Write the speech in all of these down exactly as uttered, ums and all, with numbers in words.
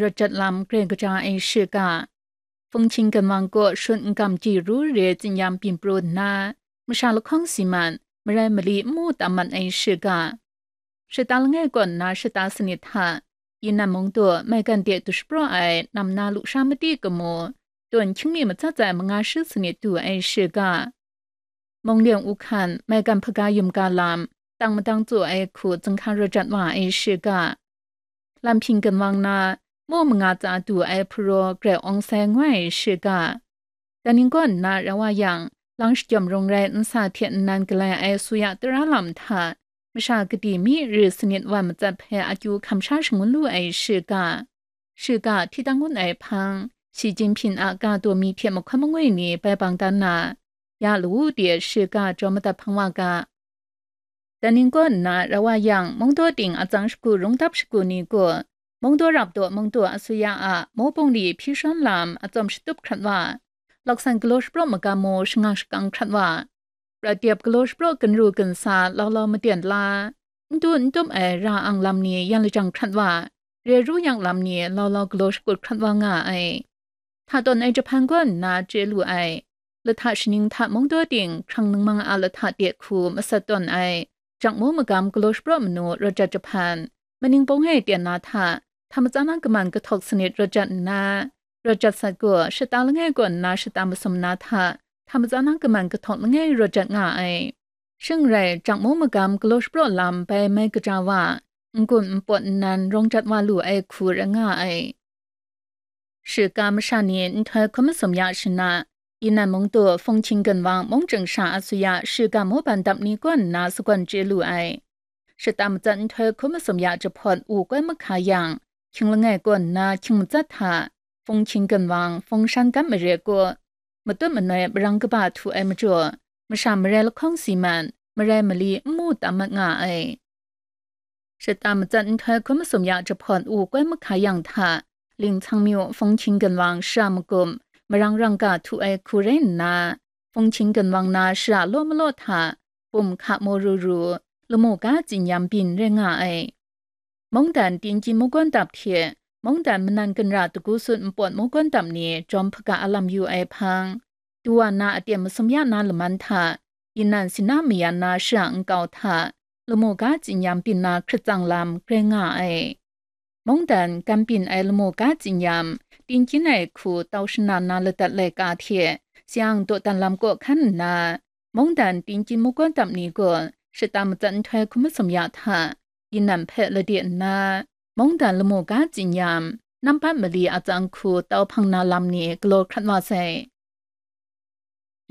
rawt jat lam grai kaja ai shiga, Fungchin Ganwang kaw shut n gam ji ru re tsinyam byin pru nna, masha lahkawng si mat, marai mali n mu tam mat ai shiga, shata langai kaw nna shata sanit hta, Yinan mung du maigan de du shapraw ai nam na lusha mati kamu, tawn hkying mi matsat ai manga shi sanit du ai shiga, Munglen Uhkan maigan hpaga yum ga lam, tang madang tsu ai hku zinghka rawt jat wa ai shiga, Lam Hpyin Ganwang na, mu manga tsa du ai hparaw grai awng sai ngoi ai shiga, Daning kaw nna rau wa yang, lang shajawm rung rai nsa hte nnan galai ai suya tara lam hta, masha kadi mi ri sanit wan matsat hpe akyu hkam sha shangun lu ai shiga, shiga hti dang un ai hpang, Shi Jinping a ga daw mi hte mahkawn mangwi ni bai bang dan na, ya lawu de shiga jaw madat hpang wa ga. Daning kaw nna rau wa yang, mungdaw ting atsang shagu rungdap shagu ni gaw, mungdaw rap daw mungdaw asuya a mawbung li hpyi shawn lam atsawm shatup hkrat wa, laksan galaw shapraw magam mu shangang shakang hkrat wa, prat dep galaw shapraw ginru ginsa lau lau maden la, n du n tup ai ra ang lam ni yan lajang hkrat wa, re ru yang lam ni lau lau galaw shakut hkrat wa nga ai. Hta tawn ai jahpan gaw nna chye lu ai. Lahta shaning hta mungdaw ting hkrang ningmang a lahta de hku masat tawn ai, jakmu magam galaw shapraw manu rawt jat jahpan, maning pawng e ten na hta, hta matsan a kaman kahtawk sanit rawt jat nna, rawt jat sat gaw shata langai kaw nna shata masum na hta, hta matsan a kaman kahtawk langai rawt jat nga ai. Shing rai, jakmu magam galaw shapraw lam bai mai kaja wa, n-gun npawt nnan rawng jat wa lu ai hku rai nga ai. Shiga masha ni nhtoi hkum masum ya shana, Yinan mung du Fungchin Ganwang mung chyeng sha asuya shiga mawban dap ni kaw nna sagawn chye lu ai. Shata matsat nhtoi hkum masum ya jahpawt u koi mahka yang, hkying langai kaw nna hkying matsat hta, Fungchin Ganwang, Fungshan gam mare kaw, matut manoi marang kaba htu ai majaw, masha marai lahkawng si mat, marai mali n mu tam mat nga ai. Shata matsat nhtoi hkum masum ya jahpawt u koi mahka yang hta, Lingchang myu Fungchin Ganwang shara magum, marang rangga htu ai hku rai nna, Fungchin Ganwang na shara law malaw hta, bum hka maw ru ru, lamu ga tsinyam byin rai nga ai. Mungdan Tinggyin mungkawn dap hte, mungdan manan ginra dagu sut npawt mungkawn dap ni jawm hpaga a lam yu ai hpang, Duwa na aten masum ya na laman hta, Yinan Sina mayan na shara nkau hta, lamu ga tsinyam byin na hkrit tsang lam grai nga ai. Mungdan gam byin ai lamu ga tsinyam, Tinggyin ai hku tau shana na ladat laika hte, Siang dawdan lam kaw hkan nna, mungdan Tinggyin mungkawn dap ni gaw shata matsat nhtoi hkum masum ya hta, Yinan hpe lade nna, mungdan lamu ga tsinyam, nampat mali atsang hku tau hpang na lam ni galaw hkrat wa sai.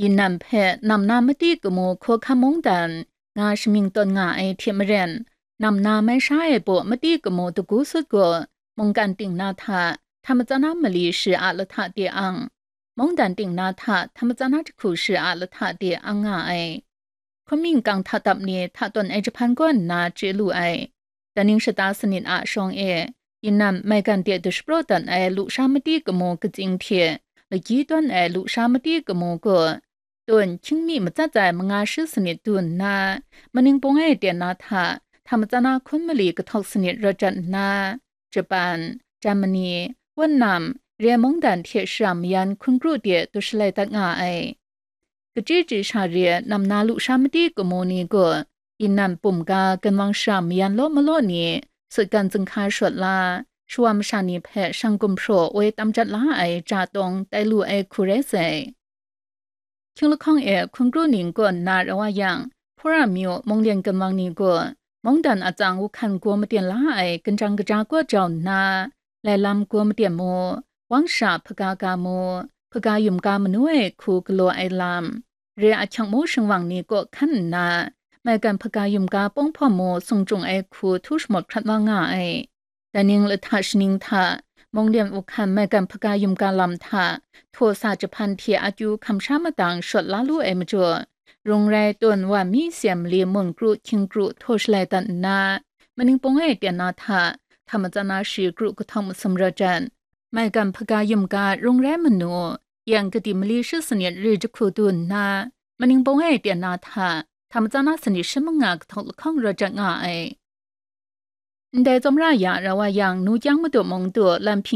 Yinan hpe nam na mati kamu hkawhkam mungdan nga shamying tawn nga ai hte maren, nam na mai sha ai baw mati kamu dagu sut gaw mungkan ting na hta, hta matsan na mali shi a lahta de ang, mungdan ting na hta, hta matsan na jahku shi a lahta de ang nga ai. Hkum mingkang hta dap ni hta tawn ai jahpan kaw nna chye lu ai. Daning shata sanit a shawng e, Yinan maigan de dushapraw dat ai lusha mati kamu katsing hte, lagyi tawn ai lusha mati kamu gaw, tawn hkying mi matsat ai manga shi sanit du nna, maning pawng e ten na hta, hta matsan na hkun mali kahtawk sanit rawt jat nna, Japan, Germany, Wutnam, re mungdan hte shara mayan hkun kru de du shalai dat nga ai. Kachyi chyi sha re nam na lusha mati kamu ni gaw, Yinan bum ga ganwang shara mayan law malaw ni, sutgan zinghka shawt la, shawa masha ni hpe shang gumhpraw woi tam jat la ai ja tawng tai lu ai hku rai sai. Hkying lahkawng e hkun kru ning kaw nna rau wa yang, Hpura myu munglen ganwang ni gaw, mungdan atsang wuhkan gaw maten la ai ganjang kaja kaw jau nna, lai lam gaw maten mu, wang sha hpaga ga mu, hpaga yum ga manu ai hku galaw ai lam, re ahkyang mu shingwang ni kaw hkan nna, maigan hpaga yum ga pawng hpawm mu sung chyung ai hku htu shamawt hkrat wa nga ai. Daning lahta shaning hta, munglen wuhkan maigan hpaga yum ga lam hta, htaw sa jahpan hte akyu hkam sha madang shawt la lu ai majaw, rung rai tawn wa mi seng mali mun kru hkying kru htaw shalai dat nna, maning pawng e ten na hta, hta matsan na shi kru kahtawng masum rawt jat, maigan hpaga yum ga rung rai manu, yang kadi mali shi sanit ri jahku du nna, maning pawng e ten na hta, hta matsan na sanit shi manga kahtawk lahkawng rawt jat nga ai. Ndai tsawmra ya rau wa yang, nu kyang madu mung du lam hpyin